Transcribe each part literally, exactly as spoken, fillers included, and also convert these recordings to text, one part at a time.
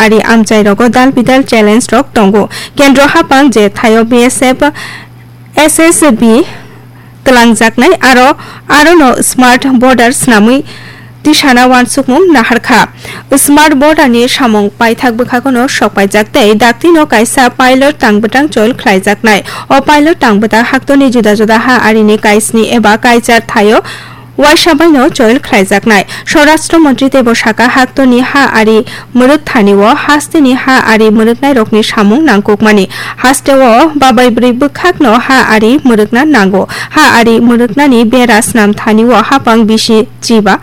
ari amchairogo dal bidal challenge rok tongo. Kendro haphang je thaio B S F, S S B twlangjaknai aro, arono smart border swnamwi tisana uansukmung naharkha. Smart border ni samung paithak bwkhagono sokpaijak tei daktino kaisa pilot tangbwtang choil khlaijaknai. O pilot tangbwtang haktorni juda juda ha arini kaisni eba kaichar thaio uaisa baino choil khlaijaknai. Swarashtra Montri teibo sakha, haktorni ha ari mwrwk thanio hasteni ha ari mwrwknairokni samung nangkukmani. Hasteo babai bwrwi bwkhakno ha ari mwrwkna nango. Ha ari mwrwknani bera snam thanio haphang bisi chiba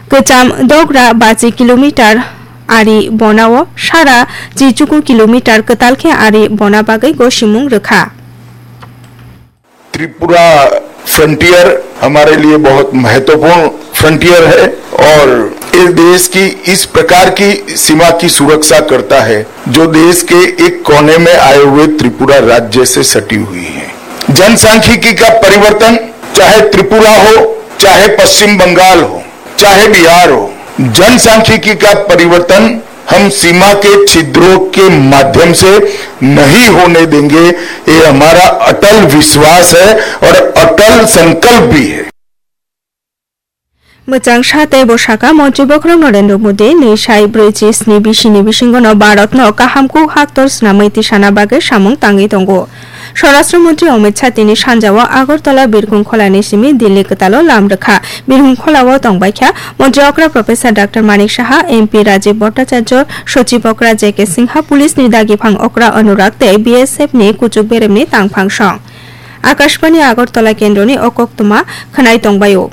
kwcham dogra bachi kilometer ari bonao sara chichuku kilometer kwtal khe ari bona bagwi gosimung rwkha. Tripura frontier हमारे लिए बहुत महत्वपूर्ण फ्रंटियर है और इस देश की इस प्रकार की सीमा की सुरक्षा करता है, जो देश के एक कोने में आए हुए त्रिपुरा राज्य से सटी हुई है। जनसांख्यिकी का परिवर्तन, चाहे त्रिपुरा हो, चाहे पश्चिम बंगाल हो, चाहे बिहार हो, जनसांख्यिकी का परिवर्तन हम सीमा के छिद्रों के माध्यम से नहीं होने देंगे। ये हमारा अटल विश्वास है और अटल संकल्प भी है। Mwchang sa tei bwsaka Montri Bokhorok Narendra Modi ni sai brwi chi sni bisini bisingono Bharatno kaham kuk haktor swnamwi tisana bagwi samung tangwi tongo. Swarashtra Montri Amit Shah tini sanjao Agartala Birkhung Kholani simi Delhi kwtalo lam rwkha. Birkhung Kholao tongbaikha Montri okra Professor Doctor Manik Saha, M P Rajiv Bhattacharya, Sochib okra J K Singha, Police ni dagiphang okra Anurag tei B S F ni kuchuk beremni tangphang song. Akashbani Agartala kendroni o koktwma khwnai tongbaio.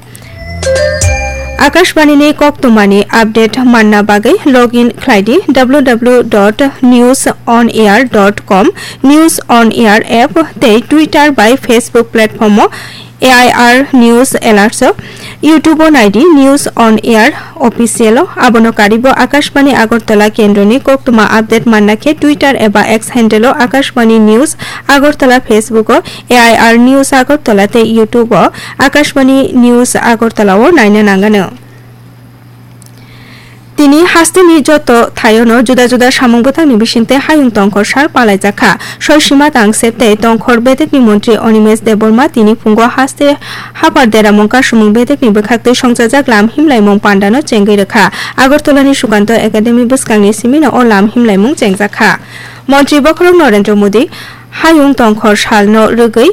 Akashbani ni koktwmani update manna bagwi login khlai di W W W dot news on air dot com, News on Air app tei Twitter bai Facebook platform o A I R News Alerts o, YouTube o nai di News on Air Official o. Abono karibo Akashbani Agartala kendroni koktwma update manna khe Twitter eba X handle o Akashbani News Agartala, Facebook o A I R News Agartala tei YouTube o Akashbani News Agartala o naina nangano. Tini hasteni joto thaiono juda juda samung bwtangni bisingtwi hayung tongkhor sal palaijakha. Soisima tangsep tei tongkhor bedekni montri Animesh Debbarma tini phungo haste hapar deramung kasumung bedekni bwkhaktwi songchajak lam himlaimung pandano chengwi rwkha. Agartalani Sukanto Academy bwskangni simino o lam himlaimung chengjakha. Montri Bokhorok Narendra Modi hayung tongkhor salno rwgwi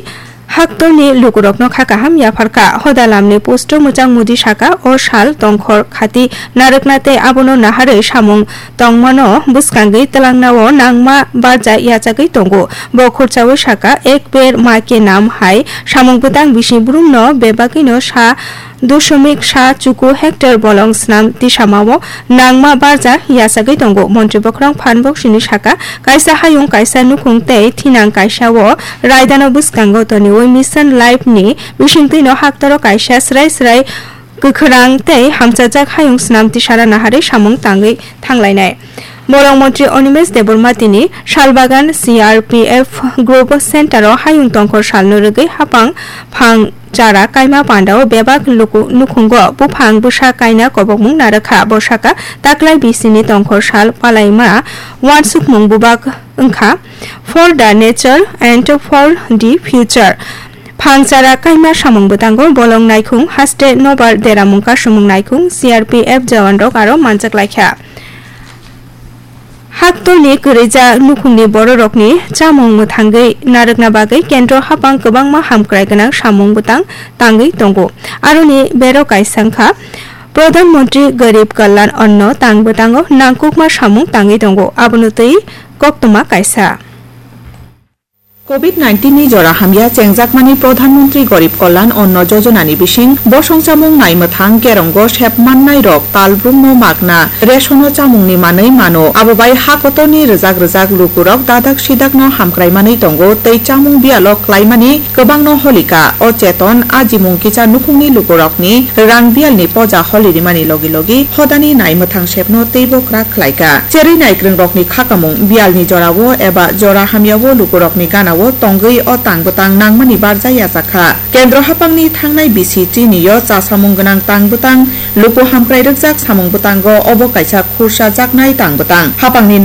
haktorni lukurokno kha kaham yapharkha. Hoda lamni post-o mwchang Modi saka, o sal tongkhor khati narwkna tei abono naharwi samung tongmano bwskangwi twlangnao nangma barja yachagwi tongo. Bo khurchaui saka, Ek Ped Maa Ke Naam hai samung bwtang bisi brumno bebagwino sa dosomik sa chuku hectare bolong snam tisamao nangma barja yachagwi tongo. Montri Bokhorok phan boksini saka, kaisa hayung, kaisa nukhung tei thinang kaisa o raidano bwskango toniwi Mission Life ni bisingtwino haktoro kaisa srai srai kwkhwrang tei hamchajak hayung snam tisara naharwi samung tangwi thanglainai. Borok montri Animesh Debbarma tini Salbagan C R P F Group Center o hayung tongkhor salno rwgwi hapang phang chara kaima pandao bebak luku nukhungo buphang bwsa kaina kobokmung narwkha. Bo saka, taklai bisini tongkhor sal palaima uansukmung bubak wngkha, For the Nature and for the Future. Phang chara kaima samung bwtango bolong naikhung, haste nobar deramung kasumung naikhung, C R P F jawan rok aro manchak laikha. Haktorni kwrwija nukhungni bororokni chamung mwthangwi narwkna bagwi kendro hapang kwbangma hamkrai gwnang samung bwtang tangwi tongo. Aroni bero kaisa wngkha Pradhan Mantri Garib Kalyan Anna tang bwtango nangkukma samung tangwi tongo. Abono twi koktwma kaisa. Covid nineteen ni jora hamya chengjakmani Pradhan Mantri Garib Kalyan Anna Jojona ni bising bosong chamung naimwthang kerongo sep mannai rok talbrumno magna resono chamungni manwi mano. Abo bai ha kotorni rwjak rwjak lukurok dadak sidakno hamkrai manwi tongo tei chamung biyalo klaimani kwbangno holika. O cheton ajimung kisa nukhungni lukurokni rang biyalni poja holirimani logi logi hodani naimwthang sepno teibo kwrak khlaika. Cherwi naikwrwngrokni khakamung biyalni jorao eba jora hamyao lukurokni ganao tongwi o tang bwtang nangmani barja yachakha. Kendro haphangni thangnai bisi chini-o chasamung gwnang tang bwtang luku hamkrai rwkjak samung bwtango obo kaisa khursa jaknai tang bwtang. Haphangni